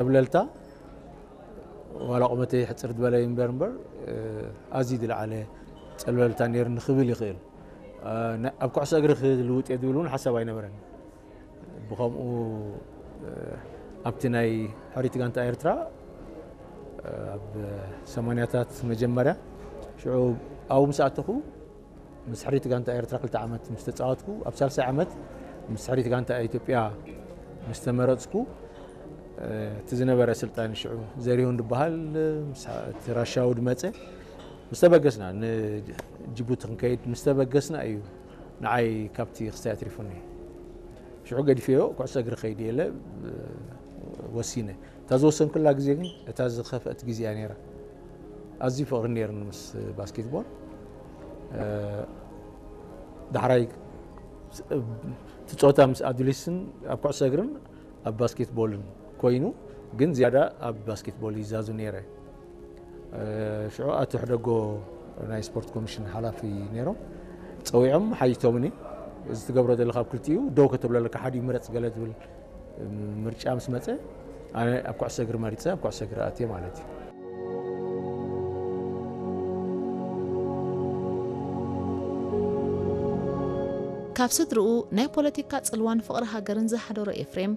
ጸብለልታ ዋላ ቁመተይ ሕጽር ዝበለ እምበር እምበር ኣዝዩ ዝለዓለ ጸብለልታ ነይርኒ ክብል ይኽእል። ኣብ ኩዕሶ እግሪ ክልውጥ እየ ዝብል እውን ሓሳብ ኣይነበረን። ብኸምኡ ኣብቲ ናይ ሕሪት ጋንታ ኤርትራ ኣብ ሰማንያታት መጀመርያ ሽዑ ኣብኡ ምስ ኣተኹ ምስ ሕሪት ጋንታ ኤርትራ ክልተ ዓመት ምስ ተጻወትኩ ኣብ ሳልሳይ ዓመት ምስ ሕሪት ጋንታ ኢትዮጵያ ምስ ተመረጽኩ እቲ ዝነበረ ስልጣን ሽዑ ዘሪሁን ዝበሃል እቲ ራሻዊ ድመጸ ምስ ተበገስና ንጅቡቲ ክንከይድ ምስ ተበገስና እዩ ንዓይ ካብቲ ክስታይ ኣትሪፉኒ። ሽዑ ገዲፈዮ ኩዕሶ እግሪ ከይድ የለ ወሲነ። እታ ዝወሰንኩላ ግዜ ግን እታ ዝኸፍአት ግዜ እያ ነይራ። ኣዝዩ ፍቕሪ ነይርኒ ምስ ባስኬትቦል። ዳሕራይ ትፆታ ምስ ኣዱሊስን ኣብ ኩዕሶ እግርን ኣብ ባስኬትቦልን ኮይኑ ግን ዝያዳ ኣብ ባስኬትቦል ይዛዙ ነይረ። ሽዑ ኣቶ ሕደጎ ናይ ስፖርት ኮሚሽን ሓላፊ ነይሮም ፀዊዖም ሓይቶምኒ እዚ ትገብሮ ዘለካ ኣብ ክልቲኡ ደው ከተብሎ ኣለካ ሓዲኡ ምረፅ ገለ ዝብል ምርጫ ምስ መፀ ኣነ ኣብ ኩዕሶ እግሪ መሪፀ ኣብ ኩዕሶ እግሪ ኣትየ ማለት እዩ። ካብ ስድርኡ ናይ ፖለቲካ ጽልዋን ፍቕሪ ሃገርን ዝሓደሮ ኤፍሬም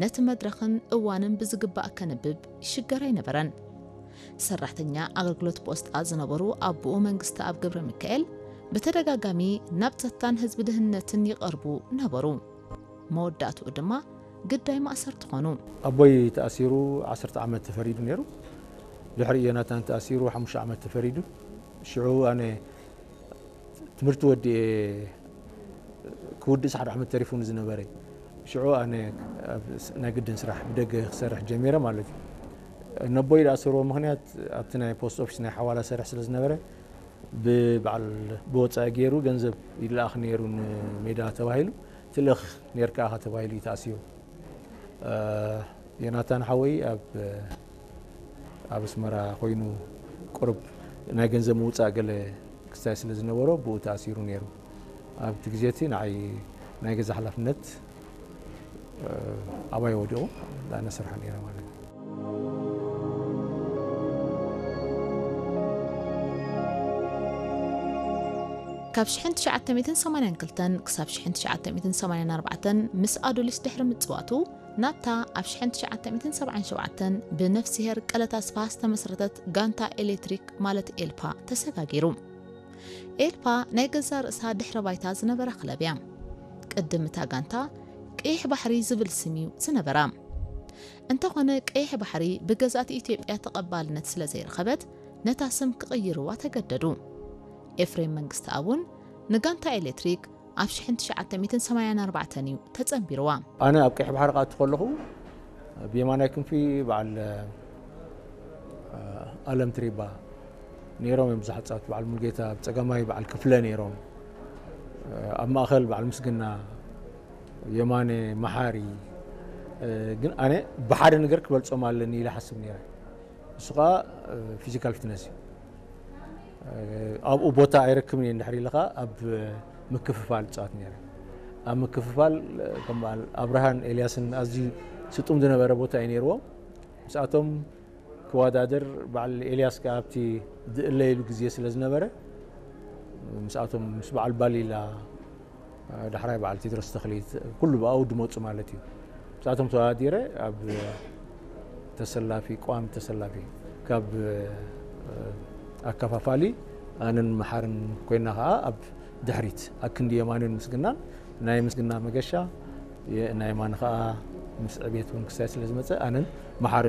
ነቲ መድረኽን እዋንን ብዝግባእ ከንብብ ይሽገር ኣይነበረን። ሰራሕተኛ ኣገልግሎት ፖስጣ ዝነበሩ ኣቦኡ መንግስተኣብ ገብረሚካኤል ብተደጋጋሚ ናብ ጸጥታን ህዝቢ ድህነትን ይቐርቡ ነበሩ። መወዳእትኡ ድማ ግዳይ ማእሰርቲ ኾኑ። ኣቦይ ተኣሲሩ ዓሰርተ ዓመት ተፈሪዱ ነይሩ። ድሕሪ ዮናታን ተኣሲሩ ሓሙሽተ ዓመት ተፈሪዱ። ሽዑ ኣነ ትምህርቲ ወዲኤ ክውድእ ሓደ ዓመት ተሪፉ ንዝነበረ ሽዑ ኣነ ናይ ግድን ስራሕ ብደገ ክሰርሕ ጀሚረ ማለት እዩ። ነቦይ ዝኣሰርዎ ምክንያት ኣብቲ ናይ ፖስት ኦፊስ ናይ ሓዋላ ሰርሕ ስለ ዝነበረ ብበዓል ብወፃኢ ገይሩ ገንዘብ ይለኣኽ ነይሩ ንሜዳ ተባሂሉ ትልእኽ ነርካ ኢኻ ተባሂሉ እዩ ተኣሲሩ። ዮናታን ሓወይ ኣብ ኣብ ኣስመራ ኮይኑ ቁሩብ ናይ ገንዘብ ምውፃእ ገለ ክስታይ ስለ ዝነበሮ ብኡ ተኣሲሩ ነይሩ። ኣብቲ ግዜ እቲ ንዓይ ናይ ገዛ ሓላፍነት ኣባይ ወዲቑ ኣነ ስራሕ ነይረ ማለት እዩ። ካብ ሽሕን ትሽዓተ ሚእትን ሰማንያን ክልተን ክሳብ ሽሕን ትሽዓተ ሚእትን ሰማንያን ኣርባዕተን ምስ ኣዱሊስ ድሕሪ ምጽዋቱ ናብታ ኣብ ሽሕን ትሽዓተ ሚእትን ሰብዓን ሸውዓተን ብነፍስሄር ቀለታ ስፋ ዝተመስረተት ጋንታ ኤሌክትሪክ ማለት ኤልፓ ተሰጋጊሩ። ኤልፓ ናይ ገዛ ርእሳ ድሕረ ባይታ ዝነበራ ክለብ እያ። ቅድም እታ ጋንታ ቀይሕ ባሕሪ ዝብል ስም እዩ ዝነበራ። እንተኾነ ቀይሕ ባሕሪ ብገዛእቲ ኢትዮጵያ ተቐባልነት ስለ ዘይረኸበት ነታ ስም ክቕይርዋ ተገደዱ። ኤፍሬም መንግስተኣብ እውን ንጋንታ ኤሌክትሪክ ኣብ ሽሕን ትሽዓተ ሚእትን ሰማንያን ኣርባዕተን እዩ ተጸንቢርዋ። ኣነ ኣብ ቀይሕ ባሕሪ ክኣቱ ከለኹ ብየማናይ ክንፊ በዓል ኣለም ትሪባ ነይሮም እዮም ብዙሓት ጻወት በዓል ሙልጌታ ኣብ ጸጋማይ በዓል ክፍለ ነይሮም ኣብ ማእኸል በዓል ምስግና የማነ መሓሪ ግን ኣነ ብሓደ ነገር ክበልጾም ኣለኒ ኢለ ሓስብ ነይረ። እሱ ከዓ ፊዚካል ፊትነስ እዩ። ኣብኡ ቦታ ኣይረክብን እየ እንድሕር ኢልኻ ኣብ ምክፍፋል እፃወት ነይረ። ኣብ ምክፍፋል ከም በዓል ኣብርሃን ኤልያስን ኣዝዩ ስጡም ዝነበረ ቦታ እዩ ነይርዎም። ምስኣቶም ክወዳደር በዓል ኤልያስ ከዓ ኣብቲ ዝእለየሉ ግዜ ስለ ዝነበረ ምስኣቶም ምስ በዓል ባሊላ ዳሕራይ በዓል ቴድሮስ ተኽሊት ኩሉ ብኣኡ ድመፁ ማለት እዩ። ምስኣቶም ተወዳዲረ ኣብ ተሰላፊ ቋሚ ተሰላፊ ካብ ኣከፋፋሊ ኣነን መሓርን ኮይና ከዓ ኣብ ድሕሪት ኣክንዲ የማንን ምስግናን ናይ ምስግና መገሻ ናይ የማን ከዓ ምስ ዕቤት እውን ክሳይ ስለ ዝመፀ ኣነን መሓሪ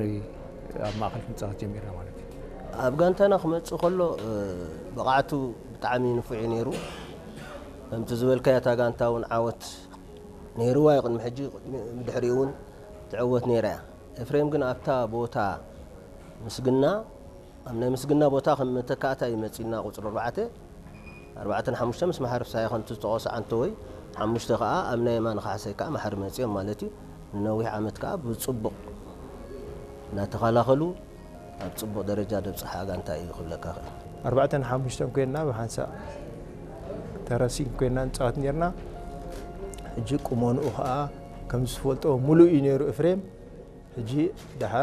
ኣብ ማእኸል ክንፃወት ጀሚርና ማለት እዩ። ኣብ ጋንታና ክመፅእ ከሎ ብቕዓቱ ብጣዕሚ ንፉዕ እዩ ነይሩ። ከምቲ ዝበልካዮ እታ ጋንታ እውን ዓወት ነይርዋ እዩ። ቅድሚ ሕጂ ድሕሪኡ እውን ትዕወት ነይራ እያ። ኤፍሬም ግን ኣብታ ቦታ ምስግና ኣብ ናይ ምስግና ቦታ ከም መተካእታ እዩ መፂና ቁፅሪ ኣርባዕተ ኣርባዕተን ሓሙሽተ ምስ መሓሪ ፍስሃየ ከምቲ ዝተቆሰ ዓንተወይ ሓሙሽተ ከዓ ኣብ ናይ የማነ ካሕሳይ ከዓ መሓሪ መፂኦም ማለት እዩ። ንነዊሕ ዓመት ከዓ ብፅቡቕ እናተኸላኸሉ ኣብ ፅቡቕ ደረጃ ደብፅሓ ጋንታ እዩ ክብለካ ክእል። ኣርባዕተን ሓሙሽተን ኮይንና ብሓንሳእ ተረሲን ኮይንና ንፃወት ነርና። ሕጂ ቁመንኡ ከዓ ከም ዝፈልጦ ሙሉእ እዩ ነይሩ እፍሬም። ሕጂ ደሓር